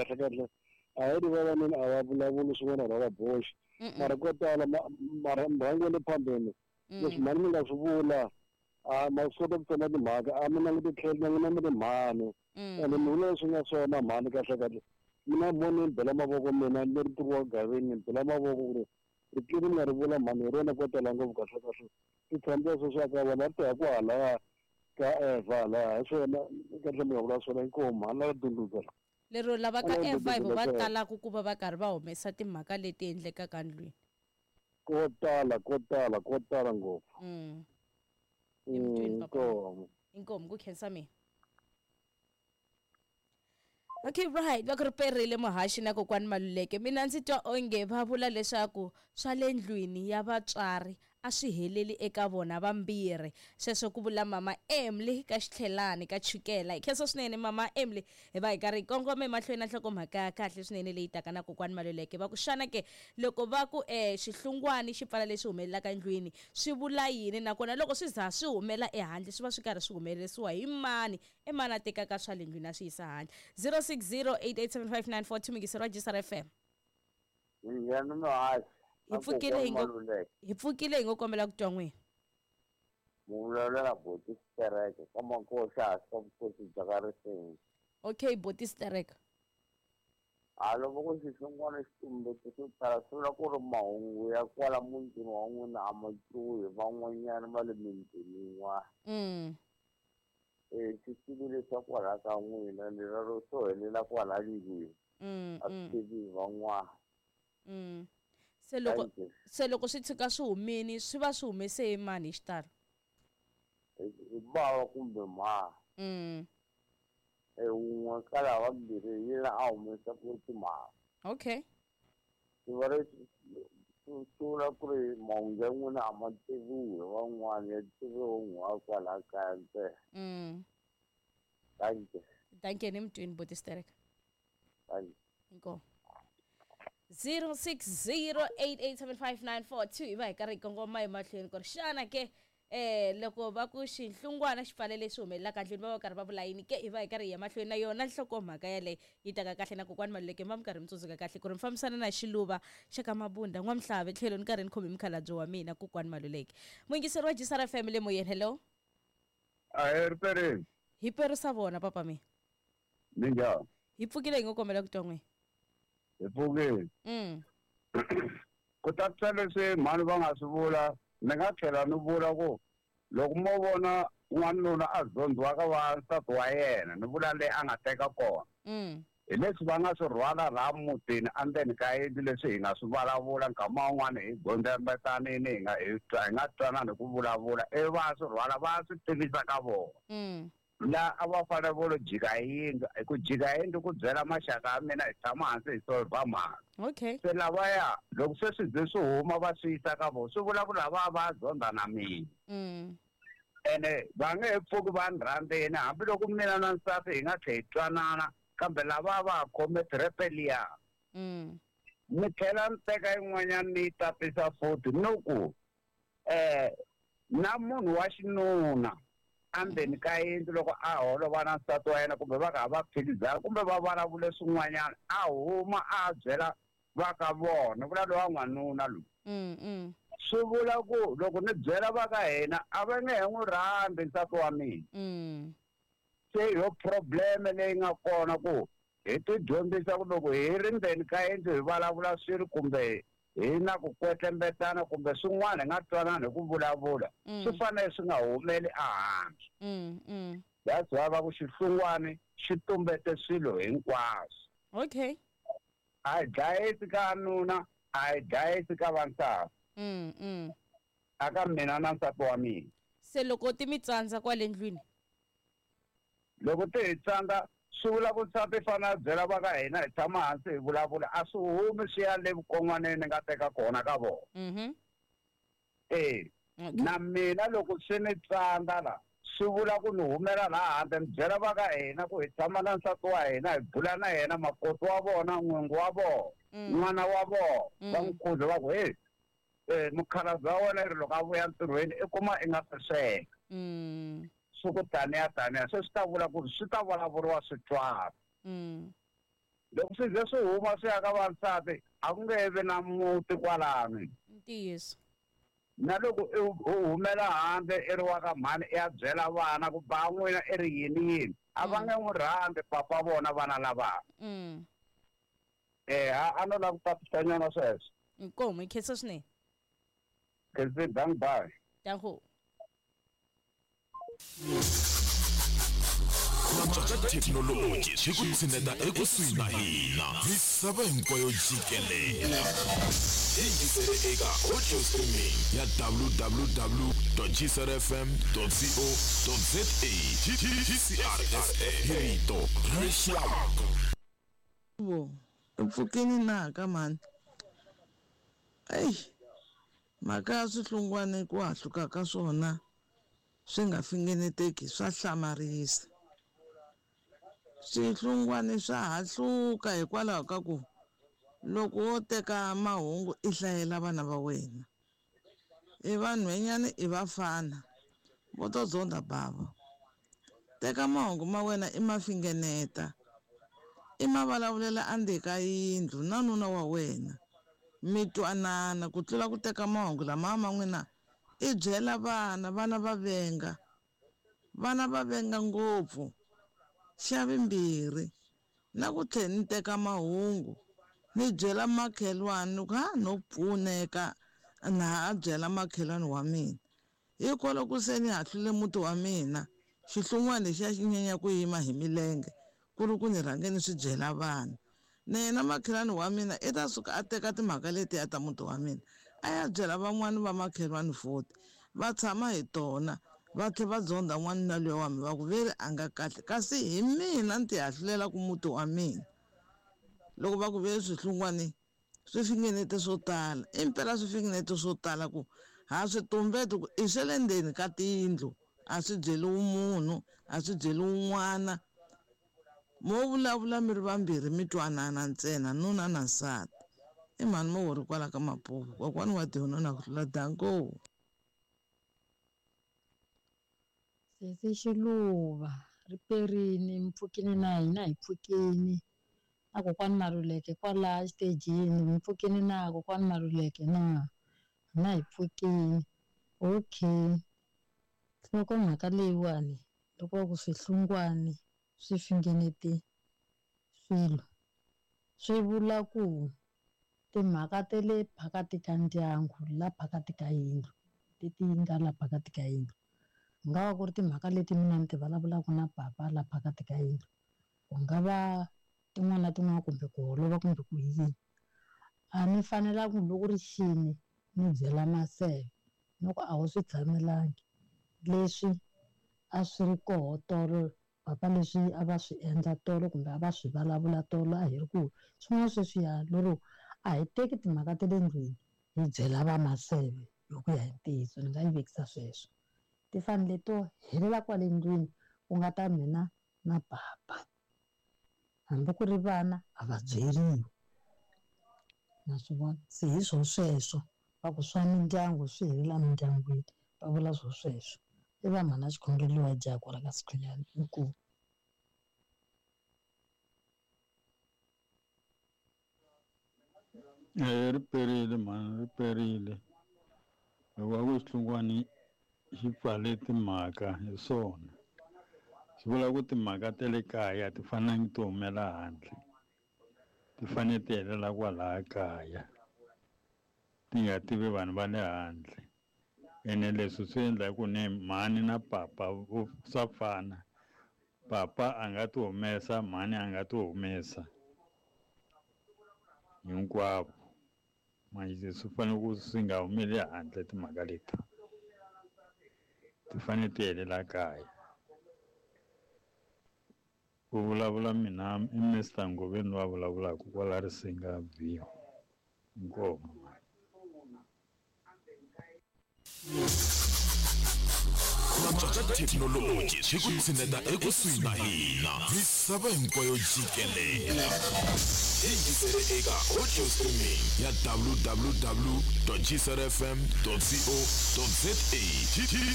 Kahle kahle a hi ri vavanuna a va vulavuli swin'wana ra va boxi. Mara ko tala mara murhangi wa le phambeni leswi mhani mi nga swi vula a ma swi kota ku tsema timhaka a mi languti tlhelo na n'wina mi ri mhani. Ene mi vula leswi nga swona mhani kahle kahle. Mina mo ni bela mavoko mina ni ri wa gaveni ni bela mavoko ku ri ricili mi nga ri vula mhani hi rona ko tala ngopfu kahle kahle. Ti tshamisa sweswi aka vona ri ta ku halaya ka Eva halaya hi swona kahle mi nga vula swona inkomu mhani la dundudza. Lero lava ka Eva hi vo va talaka ku va va karhi va humesa timhaka leti endlekaka ndlwini. Ko tala ko tala ko tala ngopfu. Emutwini papa. Inkomu. Inkomu ku khensa mina. Okay right va ku ri perile muhaxi na kokwani Maluleke mina ndzi twa onge va vula leswaku swa le ndlwini ya vatswari a swi heleli eka vona vambirhi sweswo ku vula mama Emily ka xitlhelani ka chukela hi khensa swinene mama Emily hi va hi karhi hi kongoma emahlweni na nhlokomhaka ya kahle swinene leyi taka na kokwani Maluleke va ku xana ke loko va ku xihlungwani xi pfala leswi humelelaka endlwini swi vula yini nakona loko swi za swi humela ehandle swi va swi karhi swi humelerisiwa hi mani i mani a tekaka swa le ndlwini a swi yisa handle 0608875942 mingiseri wa Jisara FM. Minjhani muhaxi? Hi pfukile hi ngo hi pfukile hi ngo kombela ku twa n'wina. Muvulavulela Boti Stereke ka Makosi hansi ka vukosi bya ka Risenga. Okay Boti Stereke. Ha loko ku xihlungwana xi tumbete swo tala swi vula ku ri mahungu ya kwala mutini wa n'wina a ma twiwi hi van'wanyana va le mitini yin'wana. E xi leswa kwala ka n'wina ni rero swo helela kwala ndlwini a swi tivi hi van'wana. Se loko se loko swi tshuka swi humini swi va swi humese hi mani hi xitalo? Hi bava kumbe mha. E wun'we ka lava vambirhi hi yena a humesaka timhaka. Okay. Swi va leswi swi vula ku ri mahungu ya n'wina a ma tiviwi hi van'wana ya tiviwa wun'we wa kwala kaya ntsena. Dankie. Dankie ni mutwini Boti Stereka. Dankie. Inkomu. 0608875942 hi va hi karhi hi kongoma emahlweni ku ri xana ke loko va ku xihlungwana xi pfale leswi humelelaka ndlwini va va karhi va vula yini ke hi va hi karhi hi ya mahlweni na yona nhlokomhaka yaleyo yi taka kahle na kokwani Maluleke mi va mi karhi mi tsundzuka kahle ku ri mi fambisana na xiluva xa ka Mabunda n'wamhlave tlhelo ni karhi ni khome mukhalabye wa mina kokwani Maluleke muyingiseri wa Jisara FM le moyeni hello. Ahee ripereni. Hi perisa vona papa mina. Minjhani? Hi pfukile hi ngo kombela ku twa n'wina. Hi pfukile. Ku tatisa leswi mhani va nga swi vula ni nga tlhela ni vula ku loko mo vona n'wanuna a zondziwa ka va nsati wa yena ni vula leyi a nga teka kona hi leswi va nga swi rhwala laha mutini endzeni ka yindlu leswi hi nga swi vulavula nkama wun'wani hi gondzembetanini hi nga hi twa hi nga twanani hi ku vulavula ivi va ya swi rhwala va ya swi tivisa ka vona. La a va fanele vo lo jika hi yindlu hi ku jika hi yindlu ku byela maxaka ya mina hi tshama hansi hi solver mhaka. Okay. Se lavaya loko se swi ze swi huma va swi yisa ka vona swi vula ku lava va zonda na mina. Ene va nge he pfuki va ni rhandzini hambiloko mina na nsati hi nga tlhe hi twanana kambe lava va ha khome thirepe liya. Ni tlhela ni teka yin'wanyana ni yi tatisa futhi ni ku na munhu wa xinuna endzeni ka yindlu loko a holova na nsati wa yena kumbe va kha va phikizana kumbe va vulavule swin'wanyana a huma a byela va ka vona vula lowa n'wanuna loyi. Swi vula ku loko ni byela va ka hina a va nge he n'wi rhandzi nsati wa mina. Se hi yo problem leyi nga kona ku hi ti dyondzisa ku loko hi ri ndzeni ka yindlu hi vulavula swilo kumbe hi na ku kwetlembetana kumbe swin'wana hi nga twanani hi ku vulavula swi fanele swi nga humeli ehandle. That's why va ku xihlungwani xi tumbete swilo hinkwaswo. Okay. A hi dlayisi ka nuna a hi dlayisi ka vansati. Aka mina na nsati wa mina. Se loko ti mi tsandza kwale ndlwini? Loko ti hi tsandza swi vula ku nsati fanele a byela va ka hina hi tshama hansi hi vulavula a swi humi swi ya le vukon'waneni ni nga teka kona ka vona. E na mina loko swi ni tsandza la swi vula ku ni humela laha handle ni byela va ka hina ku hi tshama na nsati wa hina hi bula na yena makoti wa vona n'wingi wa vona n'wana wa vona va n'wi khuza va ku hey mukhalabye wa wena ri loko a vuya ntirhweni i kuma i nga se sweka. Swi ku taniya taniya se swi ta vula ku ri swi ta vulavuriwa swi twala. Loko swi ze swi huma swi ya ka vansati a ku nge vi na muti kwalano. Ntiyiso. Na loko u humela handle i ri wa ka mhani i ya byela vana ku ba n'wina i ri yini yini a va nge n'wi rhandzi papa vona vana lava. A no lava ku tatisanyana sweswo. Inkomu, hi khensa swinene. Khensi, dank bye. Danko. Ku antswa ka thekinoloji swi ku tshineta ekusuhi na hina misava hinkwayo jikelele. Yingisele eka audio streaming ya www.gcrfm.co.za. GCRFM hi rito ra rixaka. Vo, u pfukini na ka mhani? Eyi, mhaka ya swihlungwana ku hahluka ka swona swi nga fingeneteki swa hlamarisa. Swihlungwana swa hahluka hikwalaho ka ku loko wo teka mahungu i hlayela vana va wena, i vanhwanyana i vafana vo to zonda bava. Teka mahungu ma wena i ma fingeneta, i ma vulavulela endzeni ka yindlu na nuna wa wena, mi twanana ku tlula ku teka mahungu lama ma n'wina i byela vana, vana va venga. Vana va venga ngopfu. Xa vumbirhi, na ku tlhela ni teka mahungu ni byela makhelwani ni ku ha no pfuneka na ha byela makhelwani wa mina. Hikwalaho ku se ni hahlule muti wa mina, xihlungwana lexiya xi nyanya ku yima hi milenge ku ri ku ni rhange ni swi byela vana. Na yena makhelwani wa mina i ta suka a teka timhaka letiya ta muti wa mina a ya byela van'wani va makhelwani futhi va tshama hi tona va tlhela va zonda n'wanuna luya wa mina va ku veri a nga kahle kasi hi mina ni ti hahlulelaka muti wa mina. Loko va ku veri swihlungwani swi fingenete swo tala, impela swi fingenete swo tala ku ha swi tumbeti ku i swa le ndzeni ka tiyindlu a swi byeriwi munhu a swi byeriwi n'wana. Mo vulavula mi ri vambirhi mi twanana ntsena nuna na nsati. I mhani mo ri kwala ka Mapuva kokwani wa tihonona ku tlula danko. Sesi Xiluva ri perini mpfukini na hina hi pfukini na kokwani Maluleke kwala xitejini mpfukini na kokwani Maluleke na hina hi pfukini. Okay, nhlokomhaka leyiwani loko va ku swihlungwani swi fingenete swilo swi vula ku timhaka ta le phakati ka ndyangu la phakati ka yindlu leti nga la phakati ka yindlu ku nga va ku ri timhaka leti mina ni ti vulavulaka na papa la phakati ka yindlu, ku nga va tin'wana na tin'wana kumbe ku holova kumbe ku yini. A ni fanelangi loko ri xini ni byela Maseve ni ku a wu swi tshamelangi leswi a swi ri koho tolo papa leswi a va swi endla tolo kumbe a va swi vulavula tolo a hi ri ku swin'wana sweswiya lero a hi teki timhaka ta le ndlwini hi byela va Maseve hi ku ya hi ntiyiso ni nga yi vekisa sweswo. Ti fanele to helela kwale ndlwini ku nga ta mina na papa, hambi ku ri vana a va byeriwi. Na swi vona se hi swo sweswo va ku swa mindyangu swi helela mindyangwini va vula swo sweswo. I va mhana xikhongelo wa jaha kwala ka Sikhunyani inkomu. Ri perile mhani, ri perile. Loko va ku xihlungwani xi pfale timhaka hi swona swi vula ku timhaka ta le kaya ti fanelanga ti humela handle, ti fanele ti helela kwalaya kaya ti nga tivi vanhu va le handle. Ene leswi swi endla hi ku ni mhani na papa swa fana, papa a nga ti humesa, mhani a nga ti humesa hinkwavo. Manje swi fanele ku swi nga humeli handle timhaka leti, ti fanele ti helela kaya. Ku vulavula mina i Mr Ngoveni loyi a vulavulaka kwala Risinga View. Inkomu. Ku antswa ka thekinoloji swi ku tshineta ekusuhi na hina misava hinkwayo jikelele. Yingisele eka audio streaming ya www.gcrfm.co.za.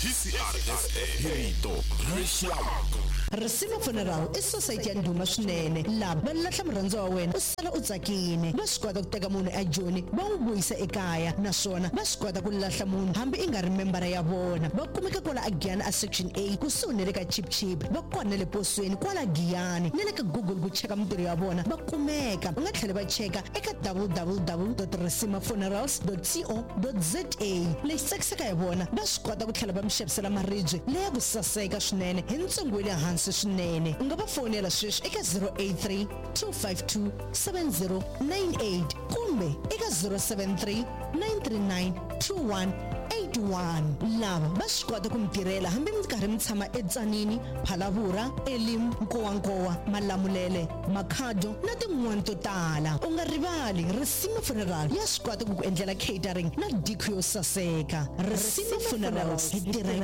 GCRFM, hi rito ra rixaka. Risima Funeral i society ya ndhuma swinene. Lava va lahla murhandziwa wa wena u sala u tsakile. Va swi kota ku teka munhu eJoni va n'wi vuyisa ekaya, naswona va swi kota ku lahla munhu hambi i nga ri membara ya vona. Va kumeka kwala a Giyani a Section A kusuhi na le ka Chip Chip. Va kona na le posweni kwala Giyani na le ka Google ku cheka mintirho ya vona va kumeka. U nga tlhela va cheka eka www.risimafunerals.co.za. Lexi tsakisaka hi vona, va swi kota ku tlhela va mi xavisela maribye leya ku saseka swinene hi ntsengo wa le hansi swinene. U nga va fonela sweswi eka 083 252 7098 kumbe eka 073 939 2181. Lava va swi kota ku mi tirhela hambi mi karhi mi tshama eTsanini, Phalavura, Elim, Nkowankowa, Malamulele, Makhado na tin'wana to tala. U nga rivali, Risima Funeral ya swi kota ku ku endlela catering na diko yo saseka. Risima Funerals, hi tirha.